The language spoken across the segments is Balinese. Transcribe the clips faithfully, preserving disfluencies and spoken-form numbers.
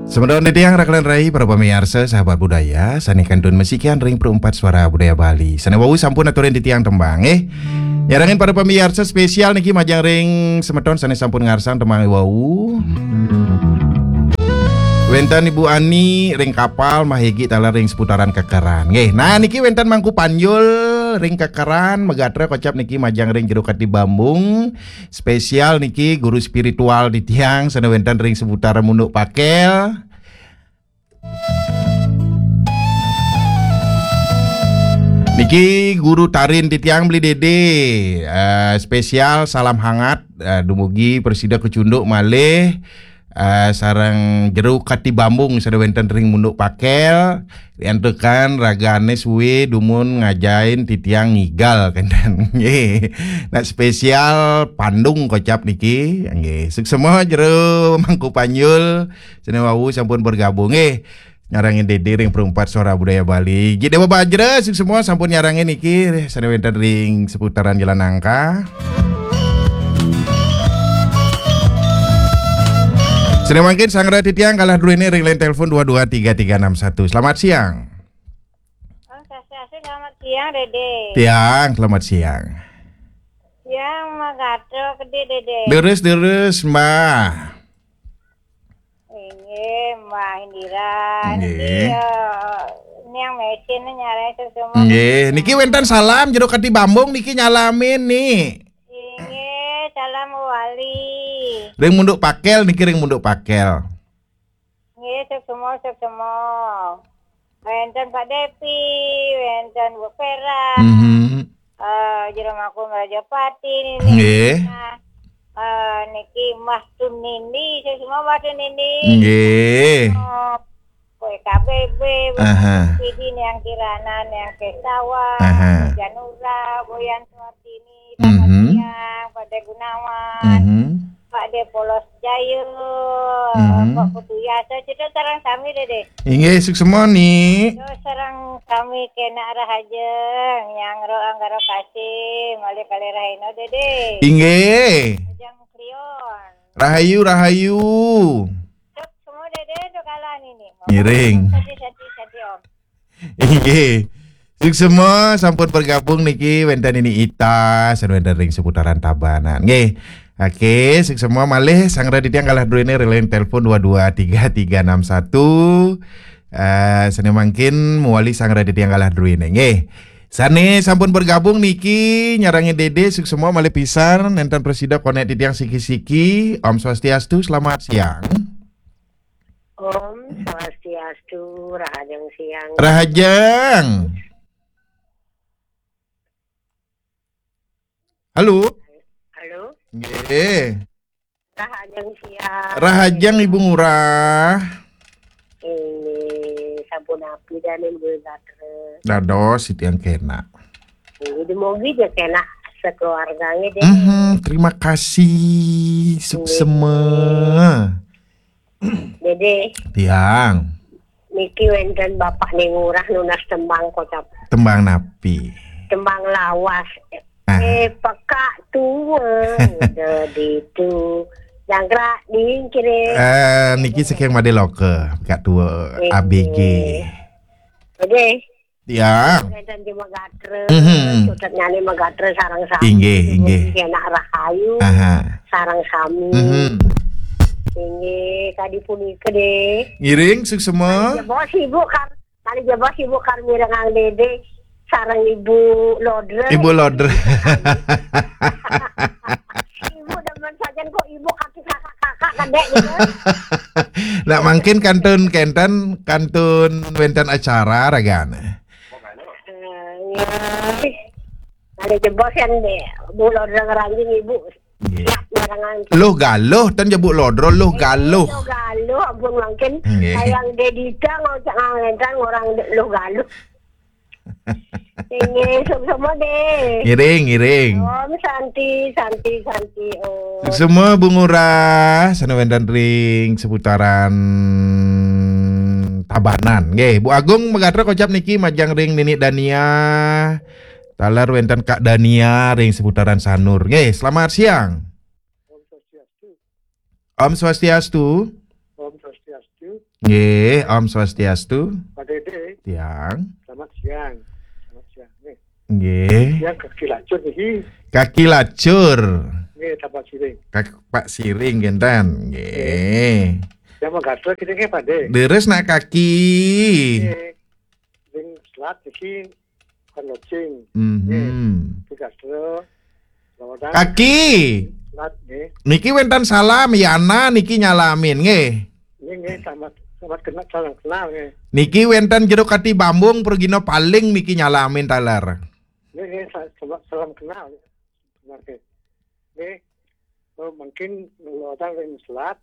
Semeton titiang rakelan rai, para pamiarsa, sahabat budaya, sané kantun masikian ring Perumpat Suara Budaya Bali. Sané wau sampun aturin titiang tembang, eh. Nyarengin para pamiarsa, spesial niki majeng ring semeton sané sampun ngarsang tembang wau. Wénten Ibu Ani ring Kapal, Mahegi taler ring seputaran Kekeran. Nggih. Nah, niki wénten Mangku Panjul ring Kekeran, magatra kocap niki majeng ring Jero Katibambung. Spesial niki guru spiritual titiang sané wénten ring seputaran Munduk Pakel. Niki guru tarin titiang Beli Dede. Eh, spesial salam hangat, eh, dumugi prasida kecunduk malih, eh, sareng Jero Katibambung sané wénten ring Munduk Pakel. Riantukan ragané suwé dumun ngajahin titiang ngigal kénten. Nggih. Nah, spesial Pandung kocap niki. Nggih. Suksma Jero Mangku Panjul. Sané wau sampun bergabung, eh, nyarengin Dede ring Perumpat Suara Budaya Bali. Gi Dewa Bajra, suksma sampun nyarengin niki, eh, sané wénten ring seputaran Jalan Nangka. Sané mangkin sareng titiang kalah druéné ring line telepon dua dua tiga tiga enam satu. Selamat siang. Om Swastiastu, selamat siang, Dede. Tiang, selamat siang. Siang, Mbak Gatot, Dede. Deres-deres, Mbak. Inggih, Mbak Indira. Nggih. Niki, eh, niang mesin nyalai suksma. Nggih, niki wénten salam Jero Katibambung niki nyalamin nih. Inggih, salam wali. Ring Munduk Pakel niki, ring Munduk Pakel. Nggih, suksma, suksma. Wénten Pak Depi, wénten Bu Pera, mhm, eh, Jero Mangku Rajapati niki. Nggih. Nah, eh, niki Mbah Tunindi, suksma Mbah Tunindi. Nggih. Oh, K B B, aha, Pidi, Niang Kirana, Niang Kesawa, aha, Janura, Boyan Suartini, selamat, mhm, siang, Pak De Gunawan. Mhm. Pak De Polos Jaya, mhm, Pak Putu Yasa, cita sareng sami, Dede. Inggih, suksma, Ni. Cita sareng sami kénak rahajeng, nyangro anggara kasih, malih kalih rahina, Dede. Inggih. Rahajeng Klion. Rahayu, rahayu. Suksma, Dede, sukalan ini. Ngiring. Sati, sati, sati, Om. Inggih. Suksma sampun bergabung niki wénten Nini Ita, sané wénten ring seputaran Tabanan. Nggih. Oke, suksma malih sareng titiang kalah druéné ring line telepon dua dua tiga tiga enam satu. Eh, sané mangkin mawali sareng titiang kalah druéné. Nggih. Sané sampun bergabung niki nyarengin Dede, suksma malih pisan, nénten prasida konék titiang siki-siki. Om Swastiastu, selamat siang. Om Swastiastu, rahajeng siang. Rahajeng. Halo? Halo? Nggih. Rahajeng siang. Rahajeng, Ibu Ngurah. Ini sampun napi dané, Bu Gatra? Dados titiang kénak. Ini dumugi ja kénak sekeluarganya, Dede. Mhm, terima kasih. Suksma. Dede. Tiang. Niki wénten Bapak Ning Ngurah nunas tembang kocap. Tembang napi? Tembang lawas. Ah. Eh, pekak tua, udah ditu. Jangkrak dingkire. Eh, niki saking Madé Loka, pekak tua, eh, A B G. Dede. Ya. Wénten di Magatra, mhm, sutet nyane Magatra sareng sami. Inggih, inggih. Enak rahayu, aha, sareng sami. Mhm. Inggih, kadi punika deh. Ngiring, suksema. Kali jebos Ibu Kar-, kali jebos Ibu Kar mirengang Dede sareng Ibu Lodre. Ibu Lodre. Ibu demen sajan kok Ibu kaki kakak-kakak kedek gitu. Nah, mungkin kantun kenten, kantun wénten acara ragane. Eh, nggih. Ada jebos yang deh, Bu Lodre ngeranjing Ibu. Nggih. Siap ngerangan. Luh Galuh, ten jebuk Lodro, Luh Galuh. Luh Galuh, ampun mangkin. Nggih. Sayang Dedita ngocak ngangentan orang Luh Galuh. Inggih, suksema deh. Ngiring, ngiring. Om Santi, Santi, Santi, Om. Suksema Bu Ngurah, sane wénten ring seputaran Tabanan. Nggih, Bu Agung Megatra kocap niki majeng ring Nini Dania. Taler wénten Kak Dania ring seputaran Sanur. Nggih, selamat siang. Om Swastiastu. Om Swastiastu. Om Swastiastu. Nggih, Om Swastiastu. Pak Dede. Tiang. Selamat siang. Selamat siang. Nggih. Nggih. Yang kaki lacur niki. Kaki lacur. Nggih, Tapak Siring. Kak Pak Siring kinten. Nggih. Yang mau gatel kita nggih, Pak De. Leres nak kaki. Nggih. Sing selat niki kan locing. Mhm. Nggih. Sing gatel. Kaki. Selat nggih. Niki wenten salam, Yana niki nyalamin nggih. Nggih, nggih, selamat, selamat kenal, salam kenal nggih. Niki wenten Jero Kati Bambung, Prugino Paling niki nyalamin taler. Nggih, nggih, sa-, selamat, salam kenal. Nggih. Nggih. Oh, mungkin lewatan ring selat,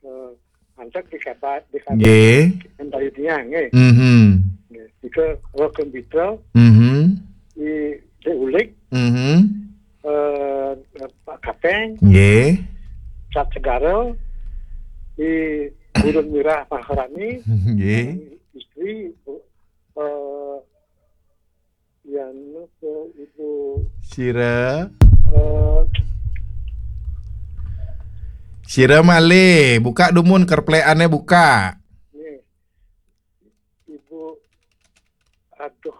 eh, antek di kabar, di kabar. Nggih. Yang tadi dia, nggih. Mhm. Nggih. Ika Rock and Beatle, Mhm. di, di Ulik, Mhm. eh, Pak Kapeng, Nggih. Cat Segara, di Gurun Mirah Maharani, Nggih. Istri, eh, yang ke Ibu, Sira. eh, Sira malih, buka dumun kerplekane buka. Nggih. Ibu, aduh,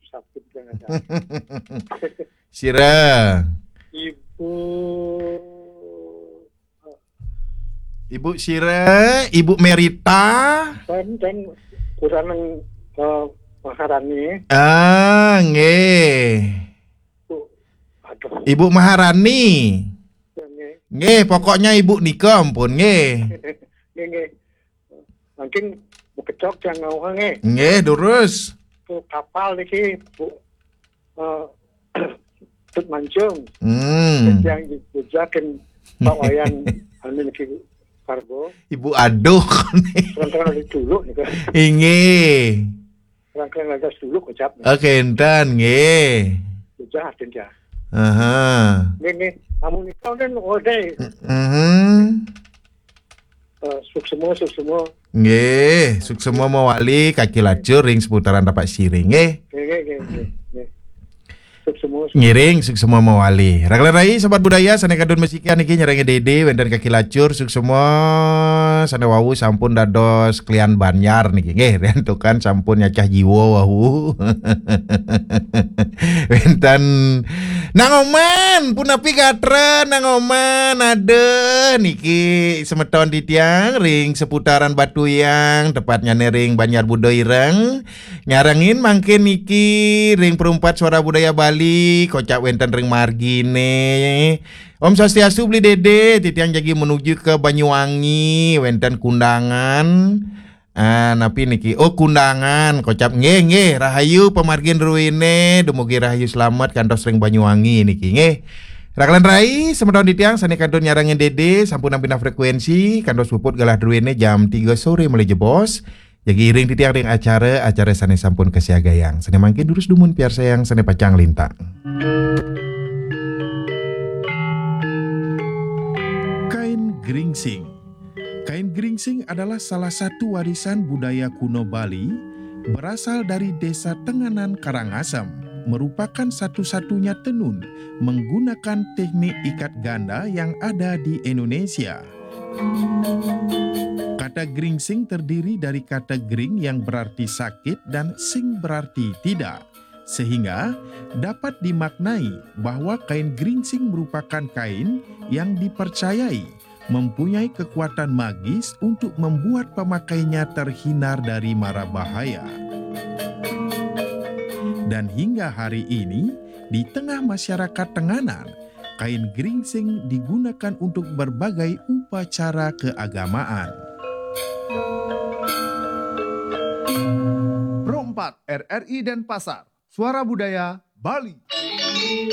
sakit jangan. Sira. Ibu. Ibu Sira, Ibu Merita. Dan, dan kurang, eh, Maharani. Ah, nggih. Bu, aduh. Ibu Maharani. Ya, nggih. Nggih, pokoknya Ibu nika ampun nggih. Nggih, nggih. Mungkin Bu Kecok yang ngawang nggih. Nggih, durus. Ke kapal niki, Bu, eh, Tut Mancung. Hmm. Yang jejakin Pak Wayan anu niki kargo. Ibu aduh. Kadang-kadang ada dulu nih kan. Inggih. Kadang-kadang ada dulu kocap. Oke, enten nggih. Jejak, jejak. Aha. Nggih, nggih. Amun nika kan, oh, deh. Mhm. Eh, suksma, suksma. Nggih, suksma mawali kaki lacur ring seputaran Tapak Siring nggih. Nggih, nggih, nggih, nggih, nggih. Suksma, suksma. Ngiring, suksma mawali. Raglan rai, sobat budaya, sane kadun masikian niki nyarengin Dede, wenten kaki lacur, suksma, sane wau sampun dados klian banjar niki nggih, riantukan sampun nyacah jiwa wau. Wenten Nang Oman, punapi gatra, Nang Oman, aduh, niki semeton titiang ring seputaran Batuyang, tepatnyane ring Banjar Budo Ireng. Nyarengin mangkin niki ring Perumpat Suara Budaya Bali, kocap wenten ring margine. Om Swastiastu, Beli Dede, titiang jagi menuju ke Banyuwangi, wenten kundangan. Ah, napi niki? Oh, kundangan, kocap. Nggih, nggih, rahayu pamargin druene, dumugi rahayu slamet kantos ring Banyuwangi niki, nggih. Raglan rai, semeton titiang sane kantun nyarengin Dede, sampun ampina frekuensi, kantos puput galah druene jam tiga sore malih jebos. Jagi iring titiang ring acara, acara sane sampun kasiagayang. Sane mangkin durus dumun piarsayang sane pacang lintang. Kain geringsing. Kain geringsing adalah salah satu warisan budaya kuno Bali, berasal dari Desa Tenganan Karangasem, merupakan satu-satunya tenun menggunakan teknik ikat ganda yang ada di Indonesia. Kata geringsing terdiri dari kata gering yang berarti sakit dan sing berarti tidak, sehingga dapat dimaknai bahwa kain geringsing merupakan kain yang dipercayai mempunyai kekuatan magis untuk membuat pemakainya terhindar dari mara bahaya. Dan hingga hari ini, di tengah masyarakat Tenganan, kain geringsing digunakan untuk berbagai upacara keagamaan. Pro empat R R I Denpasar, Suara Budaya Bali.